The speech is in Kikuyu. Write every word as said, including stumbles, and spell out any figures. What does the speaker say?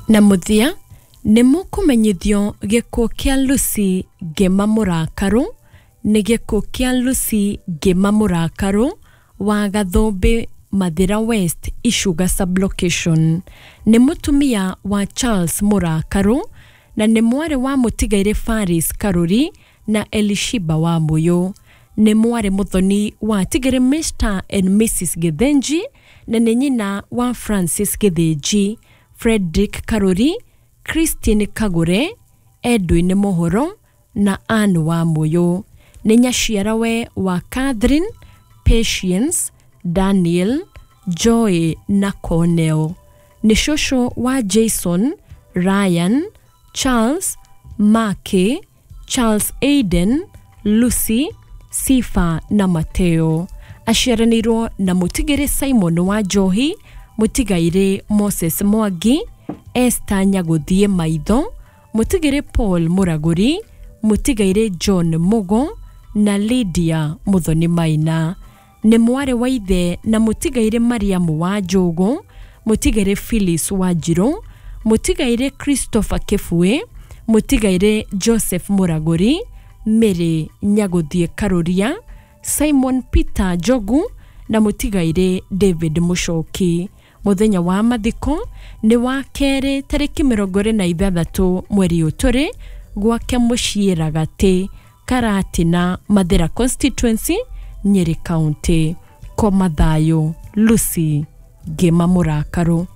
Na mũthia nĩ mũkũmenyithio gĩkuũ kĩa Lucy Ngĩma Mũrakaru. Nĩ gĩkuũ kĩa Lucy Ngĩma Mũrakaru wa Gathũmbĩ, Mathira West, Icuga sublocation. Nĩ mũtumia wa Charles Mũrakaru na nĩ mwarĩ wa mũtigairĩ Faris Karuri na Elishiba wa Mũyũ. Nĩ mwarĩ mũthoni wa tigĩrĩ Mister and Missus Githinji na nĩ nyina wa Francis Githinji, Frederick Karuri, Christine Kagure, Edwin Mũhoro na Anne wa Mũyũ. Nĩ nyaciarawe wa Catherine, Patience, Daniel, Joy na Cornell. Nĩ cũcũ wa Jason, Ryan, Charles, Marke, Charles Aiden, Lucy, Sifa na Mateo. Aciaranĩirwo na mũtigĩrĩ Simon wa Njohi, mũtigairĩ Moses Mwangi, Esther Nyagũthiĩ Maitho, mũtigĩrĩ Paul Mũragũri, mũtigairĩ John Mugo na Lydia Mũthoni Maina. Nĩ mwarĩ wa ithe na mũtigairĩ Mariamu wa Njũgũ, mũtigairĩ Phyllis Wanjirũ, mũtigairĩ Christopher Kĩbui, mũtigairĩ Joseph Mũragũri, Mary Nyagũthiĩ Karũria, Simon Peter Njogu na mũtigairĩ David Mũcoki. Mũthenya wa mathiko nĩ wa kerĩ tarĩki mĩrongo ĩrĩ na ithathatũ mweri ũyũ tũrĩ gwake mũciĩ Ragatĩ, Karatina, Mathira constituency, Nyeri County. Koma thayũ, Lucy Ngĩma Mũrakaru.